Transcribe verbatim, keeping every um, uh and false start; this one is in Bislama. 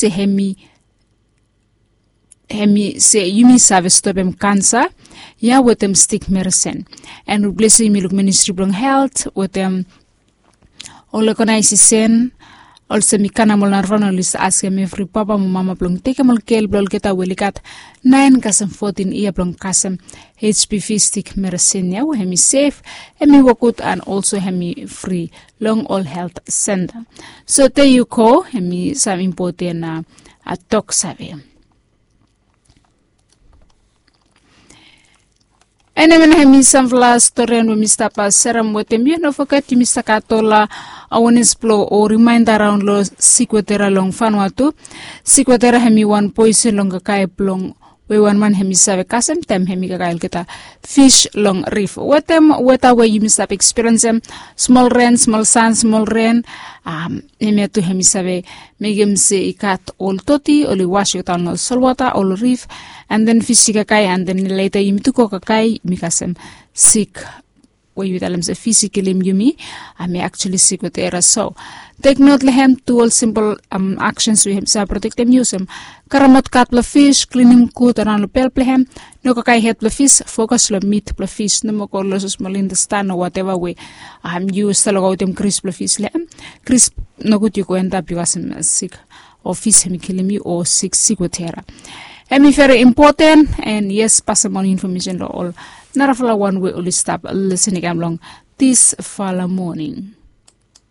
te hemi hemi se yumi save stopem kansa ya wetem stik meresin. En wi blesem yumi luk ministri blong helt wetem ol ogenaisesen olsem i kanam ol narafala oli save askem evri papa mo mama blong tekem ol gel blong olgeta we oli gat naen kasem fotin yia blong kasem hpv stik meresin ya we hemi sef, hemi wokgud an olso hemi fri long ol helt senta. So te yu go hemi sam impoten a tok save. Enemen hemi samfala storian we mi stap serem wetem yu, no foget yumi save gat ol awanes blong o rimaenda raon long sik wetera long fanua tu. Sik wetera hemi wan poisen long kakae blong we wan man hemi save kasem taem hemi kakae olgeta fis long rif wetem weta we yumi save ekspiriensem, smol ren, smol san, smol ren. Hemia tu hemi save mekem se i gat ol toti oli was i go daon long solwota ol rif, an den fis i kakae an den leta yumi tu go kakae yumi kasem sik we yumi talem se fis i kilim yumi. Hemi aktuali sik wetera so tek not long hem tu ol simpol aksens we hem save protektem yu olsem karemaot gat blong fis, klinim gud araon long bel blong hem, no kakae hed blong fis, fokas long mit blong fis, no moa go long olsem smol intestan o wateva we yu stap lukaotem gris blong fis long hem. Gris nogud yu go endap yu kasem sik o fis hemi kilim yu o sik sik wetera. Hemi veri impoten. An yes pasem ol infomesen long ol narafala wan we oli stap lisin i kam long disfala moning.